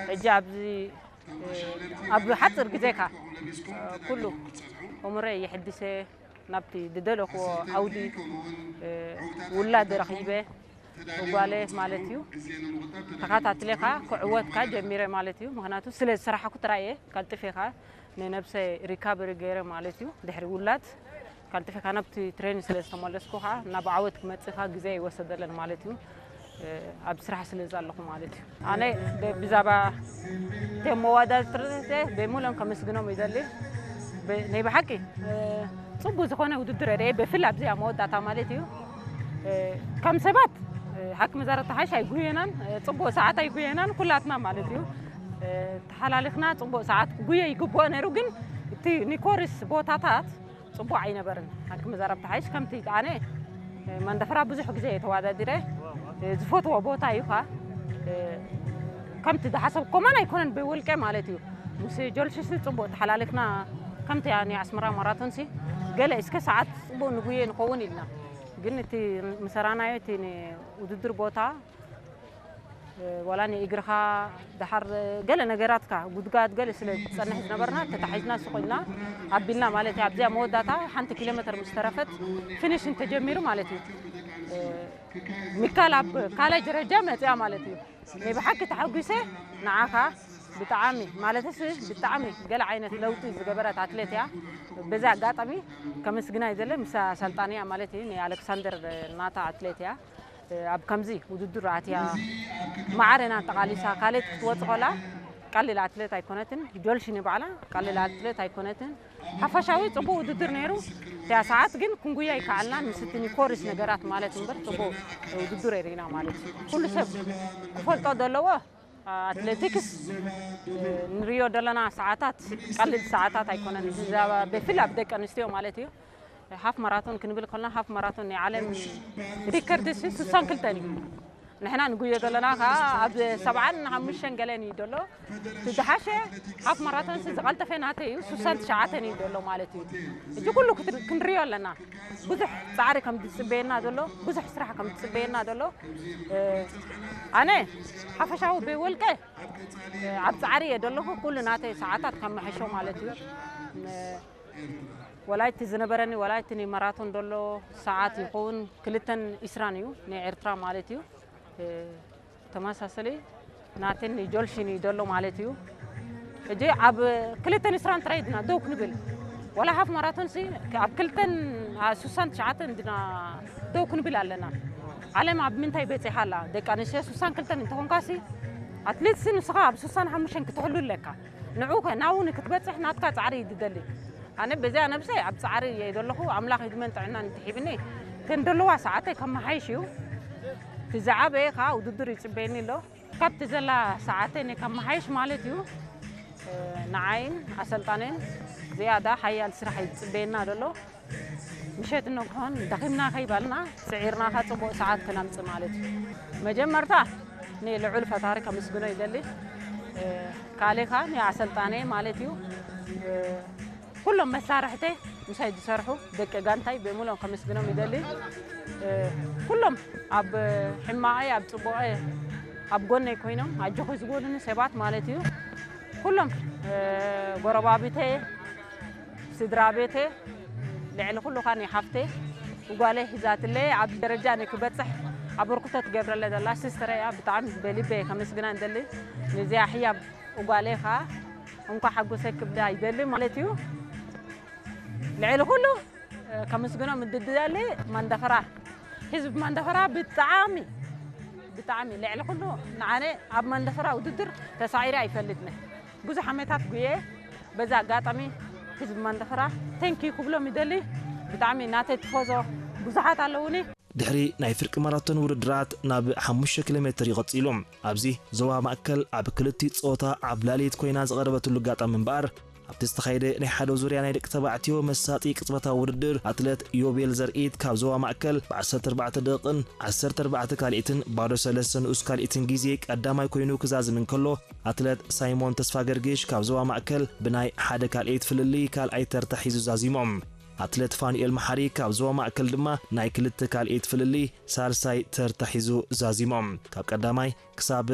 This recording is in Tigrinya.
ሕጂ ኣብዚ ኣብ ሓፂር ግዜካ ኩሉ እምሮይ የሕድሰ ናብቲ ዝደለኽዎ ዓውዲ ውላድ ረኺበ ጓለ ማለት እዩ። ተኸታትሌካ ክዕወትካ ጀሚረ ማለት እዩ። ምክንያቱ ስለ ዝሰራሕኩ ጥራይ እየ ቀልጥፌካ ንነብሰ ሪካቨሪ ገይረ ማለት እዩ። ድሕሪ ውላድ ቀልጥፌካ ናብቲ ትሬኒንግ ስለ ዝተመለስኩ ከዓ ናብ ዓወት ክመፅእካ ግዜ ይወሰደለን ማለት እዩ። ኣብ ስራሕ ስለ ዘለኹ ማለት እዩ። ኣነ ብዛባ ቶም መወዳድርተ ብምሉኦም ከመስግኖም ይደሊ። ናይ ብሓቂ ፅቡቅ ዝኾነ ውድድር ርኤ ብፍል ኣብዚኣ መወዳእታ ማለት እዩ። ከም ሰባት ሓኪም መዛረብቲ ሓይሽ ኣይጉየናን፣ ፅቡቅ ሰዓት ኣይጉየናን ኩላትና ማለት እዩ። ተሓላሊኽና ፅቡቅ ሰዓት ክጉየ ይግብኦ ነይሩ፣ ግን እቲ ኒኮሪስ ቦታታት ፅቡቅ ኣይነበርን። ሓኪም መዛረብቲ ሓይሽ ከምቲ ኣነ መንደፈራ ብዙሕ ግዜ ተዋዳዲረ ዝፈትዎ ቦታ እዩ ካ ከምቲ ዝሓሰብ ኮማን ኣይኮነን ብውልቀ ማለት እዩ። ምስ ጆልሽስ ፅቡቅ ተሓላሊኽና ከምቲ ናይ ኣስመራ ማራቶን ሲ ገለ እስከ ሰዓት ፅቡቅ ንጉየ ንኸውን ኢልና፣ ግን እቲ ምሰራናዮ እቲ ውድድር ቦታ ዋላ ንእግርኻ ደሓር ገለ ነገራትካ ጉድጋድ ገለ ስለ ዝጸንሕ ዝነበርና ተታሒዝና ስቕ ኢልና ኣቢልና ማለት እዩ። ኣብዚኣ መወዳእታ ሓንቲ ኪሎ ሜትር ምስ ተረፈት ፊኒሽ እንተጀሚሩ ማለት እዩ። ሚካል ኣብ ካልኣይ ደረጃ መጽያ ማለት እዩ። ናይ ብሓቂ ተሓጒሰ ንዓኻ ብጣዕሚ ማለትስ ብጣዕሚ ገለ ዓይነት ለውጢ ዝገበረት ኣትሌት እያ። በዚ ኣጋጣሚ ከመስግና ይደለ ምስ ኣሰልጣኒያ ማለት እዩ ናይ ኣሌክሳንደር ናታ ኣትሌት እያ። ኣብ ከምዚ ውድድር ኣትያ ማዕረና ኣጠቓሊሳ ካልእት ክትወፅ ኮላ ቀሊል ኣትሌት ኣይኮነትን። ጆልሽኒ ባዕላ ቀሊል ኣትሌት ኣይኮነትን። ሓፈሻዊ ፅቡቅ ውድድር ነይሩ። እቲያ ሰዓት ግን ክንጉያ ይከኣልና ምስቲ ኒኮሪስ ነገራት ማለት እምበር ፅቡቅ ውድድር የሪና ማለት እዩ። ኩሉ ሰብ ክፈልጦ ዘለዎ ኣትሌቲክስ ንሪዮ ዘለና ሰዓታት ቀሊል ሰዓታት ኣይኮነን። ብዛባ ብፍል ኣብ ደቂ ኣንስትዮ ማለት እዩ። ሃፍ ማራቶን ክንብል ከለና ሃፍ ማራቶን ናይ ዓለም ሪከርድ ሲ ስሳን ክልተን እዩ። ንሕና ንጉዮ ዘለና ከዓ ኣብ ሰብዓን ሓሙሽተን ገለን እዩ ዘሎ። እቲ ዝሓሸ ሃፍ ማራቶን ሲ ዝቐልጠፈ ናተይ እዩ፣ ስሳን ትሽዓተን እዩ ዘሎ ማለት እዩ። እዚ ኩሉ ክትር- ክንሪዮ ኣለና። ብዙሕ ፃዕሪ ከም ዝፅበየና ዘሎ፣ ብዙሕ ስራሕ ከም ዝፅበየና ዘሎ። ኣነ ሓፈሻዊ ብውልቀ ኣብ ፃዕሪ እየ ዘለኹ። ኩሉ ናተይ ሰዓታት ከመሐሾ ማለት እዩ። ወላይቲ ዝነበረኒ ወላይቲ ናይ ማራቶን ዘሎ ሰዓት ይኸውን ክልተን ኢስራን እዩ ናይ ኤርትራ ማለት እዩ። ተመሳሰሊ ናተን ጆልሽን እዩ ዘሎ ማለት እዩ። እጂ ኣብ ክልተን ኢስራን ጥራይ ድና ደው ክንብል፣ ወላ ሃፍ ማራቶን ሲ ኣብ ክልተን ስሳን ትሽዓተን ድና ደው ክንብል ኣለና። ዓለም ኣብ ምንታይ በፂሓ ኣላ? ደቂ ኣንስትዮ ስሳን ክልተን እንተኾንካ ሲ ኣትሌት ሲ ንስኻ ኣብ ስሳን ሓሙሽተን ክትሕሉ ኣለካ። ንዑ ከ ናው ንክትበፅሕ ናትካ ፃዕሪ እዩ ዝደሊ። ኣነ በዚኣ ነብሰይ ኣብ ፃዕሪ እየ ዘለኹ። ኣምላኽ ዕድመን ጥዕናን እንተሂብኒ ተን ዘለዋ ሰዓተይ ከመሓይሽ እዩ። እቲ ዝዓበየ ከዓ ውድድር ይፅበየኒ ኣሎ። ካብቲ ዘላ ሰዓተይ ከመሓይሽ ማለት እዩ። ንዓይን ኣሰልጣንን ዝያዳ ሓያል ስራሕ እዩ ዝፅበየና ዘሎ። ምሸት እንኮን ደኺምና ከይበልና ስዒርናኻ ፅቡቕ ሰዓት ክነምፅእ ማለት እዩ። መጀመርታ ንልዑል ፈጣሪ ከምስግኖ ይደሊ። ካልእኻ ንኣሰልጣነ ማለት እዩ። ኩሎም መሳርሕተ ምሳይ ዝሰርሑ ደቂ ጋንታይ ብምሎም ከምስግኖም ይደሊ። ኩሎም ኣብ ሕማቐ ኣብ ፅቡቐ ኣብ ጎነይ ኮይኖም ኣጆኹ ዝበሉኒ ሰባት ማለት እዩ። ኩሎም ጎረባብተ ስድራ ቤተ ልዕሊ ኩሉ ኻን ሓፍተ ጓለ ሒዛትለ ኣብ ደረጃ ንክበፅሕ ኣበርክቶ ትገብረለ ዘላ ሲስተር እያ። ብጣዕሚ በልበ ከመስግና እንደሊ። ንዚኣ ሕያብ ጓለ ኻ እንኳ ሓጎሰ ክብዳ ይደሊ ማለት እዩ። ልዕሊ ኩሉ ከምስግኖ ምድድዳለ መንደፈራ ህዝብ መንደፈራ ብጣዕሚ ብጣዕሚ ልዕሊ ኩሉ ንዓነ ኣብ መንደፈራ ውድድር ተሳዒረ ኣይፈልጥነ። ብዙሕ ዓመታት ጉየ። በዛ ኣጋጣሚ ህዝቢ መንደፈራ ቴንኪ ክብሎም ይደሊ። ብጣዕሚ ናተይ ትፎዞ ብዙሓት ኣለውኒ። ድሕሪ ናይ ፍርቂ ማራቶን ውድድራት ናብ ሓሙሽተ ኪሎ ሜትር ይቐጽሉ። ኣብዚ ዞባ ማእከል ኣብ ክልቲኡ ጾታ ኣብ ላልየት ኮይና ዝቐረበትሉ ኣጋጣሚ እምበኣር ኣብቲ ዝተኻየደ ናይ ሓደ ዙርያ ናይ ደቂ ተባዕትዮ መሳጢ ቅጽበታዊ ውድድር ኣትለት ዮቤል ዘርኢት ካብ ዞባ ማእከል ብ ዓሰርተ ኣርባዕተ ደቂቕን ዓሰርተ ኣርባዕተ ካልኢትን ባዶ ሰለስተ ንኡስ ካልኢትን ግዜ ቀዳማይ ኮይኑ ክዛዝም እንከሎ ኣትለት ሳይሞን ተስፋገርግሽ ካብ ዞባ ማእከል ብናይ ሓደ ካልኢት ፍልልይ ካልኣይ ተርታ ሒዙ ዛዚሞም። ኣትለት ፋኑኤል መሓሪ ካብ ዞባ ማእከል ድማ ናይ ክልተ ካልኢት ፍልልይ ሳልሳይ ተርታ ሒዙ ዛዚሞም። ካብ ቀዳማይ ክሳብ